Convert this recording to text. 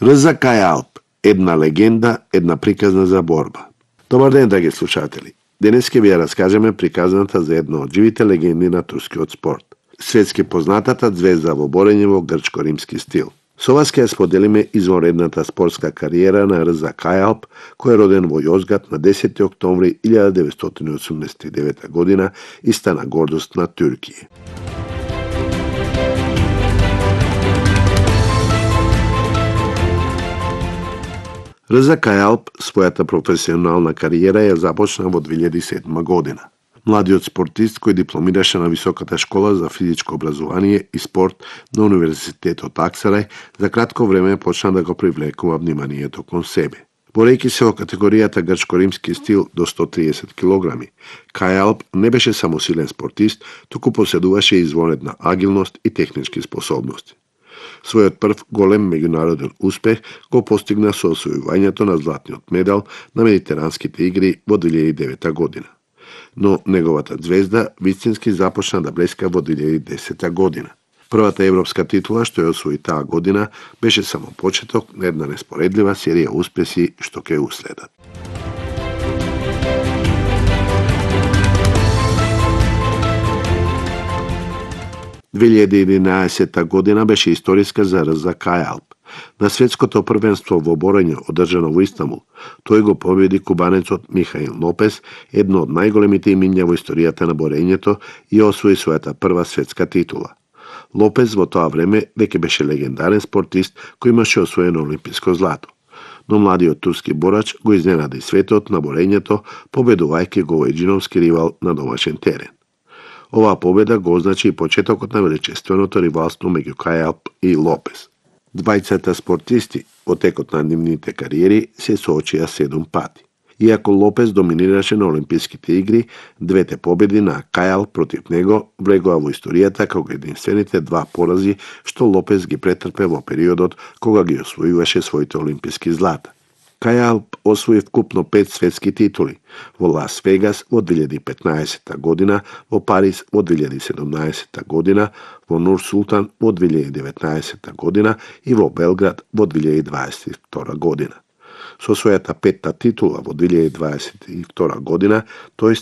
РЗ Кај Алп, една легенда, една приказна за борба. Добар ден, драги слушатели. Денес ќе ви ја раскажеме приказната за една од живите легенди на турскиот спорт. Светски познатата звезда во борење во грчко-римски стил. Со вас ќе ја споделиме извонредната спортска кариера на РЗ Кај Алп, кој е роден во Јозгат на 10. октомври 1989 година и стана гордост на Туркија. РЗ Кај Алп својата професионална кариера ја започна во 2007 година. Младиот спортист кој дипломираше на Високата школа за физичко образование и спорт на Универзитетот Аксарај, за кратко време почна да го привлекува вниманието кон себе. Борејќи се во категоријата грчко-римски стил до 130 килограми, Кај Алп не беше само силен спортист, туку поседуваше извонредна агилност и технички способности. Својот прв голем меѓународен успех го постигна со освојувањето на златниот медал на Медитеранските игри во 2009 година. Но неговата звезда вистински започна да блеска во 2010 година. Првата европска титула што ја освои таа година беше само почеток на една неспоредлива серија успеси што ќе уследат. Две 2011 година беше историска за РЗ Кај Алп. На светското првенство во борење одржано во Истанбул, тој го победи кубанецот Михаил Лопес, едно од најголемите имиња во историјата на борењето, и освои својата прва светска титула. Лопес во тоа време веќе беше легендарен спортист кој имаше освоено олимписко злато. Но младиот турски борач го изненади светот на борењето, победувајќи го еџиновски ривал на домашен терен. Оваа победа го означи и почетокот на величественото ривалство меѓу Кај Алп и Лопес. Двајцата спортисти во текот на нивните кариери се соочија 7 пати. Иако Лопес доминираше на Олимписките игри, двете победи на Кај Алп против него влегоа во историјата како единствените два порази што Лопес ги претрпе во периодот кога ги освојуваше своите олимписки злата. Кај Алп освои вкупно 5 светски титули во Лас Вегас во 2015 година, во Париз во 2017 година, во Нур Султан во 2019 година и во Белград во 2022 година. Со својата 5-та титула во 2022 година, тој